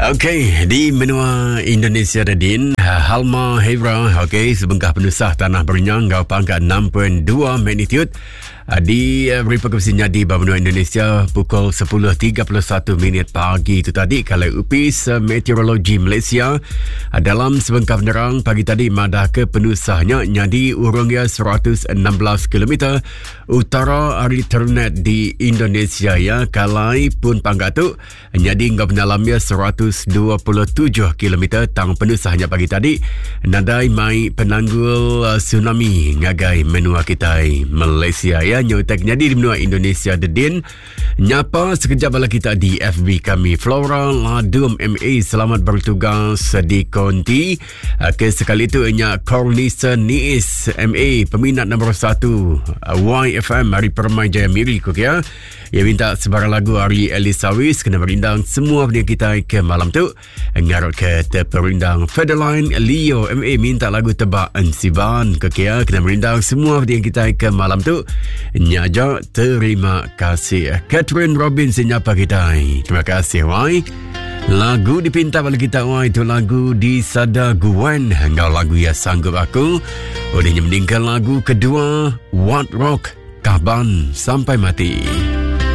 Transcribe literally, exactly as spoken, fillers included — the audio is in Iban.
Okey, di menua Indonesia Radin, Halmahera, okey, sebengkah penusah tanah berenyang ngau pangkat enam perpuluhan dua magnitude di beri perkongsiannya di benua Indonesia pukul sepuluh tiga puluh satu minit pagi itu tadi. Kalau Upis Meteorologi Malaysia dalam sebengkah penerang pagi tadi madah ke penusahnya nyadi urungnya seratus enam belas kilometer utara ari Ternet di Indonesia ya. Kalai pun pangkat tu nyadi ngau penalamnya seratus dua puluh tujuh kilometer. Tang penusahnya pagi tadi nadai mai penanggul uh, tsunami ngagai menua kita Malaysia ya. Nyotek nyadi di menua Indonesia dedin nyapa sekejap bala kita di F B kami. Flora Ladum M A, selamat bertugas di Konti. Ke sekali tu nya Cornisa Niis M A, peminat nombor satu Y F M hari Permai Jaya Miri ku ya. Ia minta sebarang lagu hari Elisawis kena merindang semua benda kita ke malam tu. Ngarut ke terperindang Fedeline Leo M A minta lagu Tebak Ensiban ke kia kena merindang semua benda kita ke malam tu. Nyaja terima kasih. Catherine Robinson nyapa kita. Terima kasih wai. Lagu dipinta bagi kita wai itu lagu di Sada Gwen enggau lagu ya sanggup aku. Olehnya meninggal lagu kedua What Rock Kaban Sampai Mati.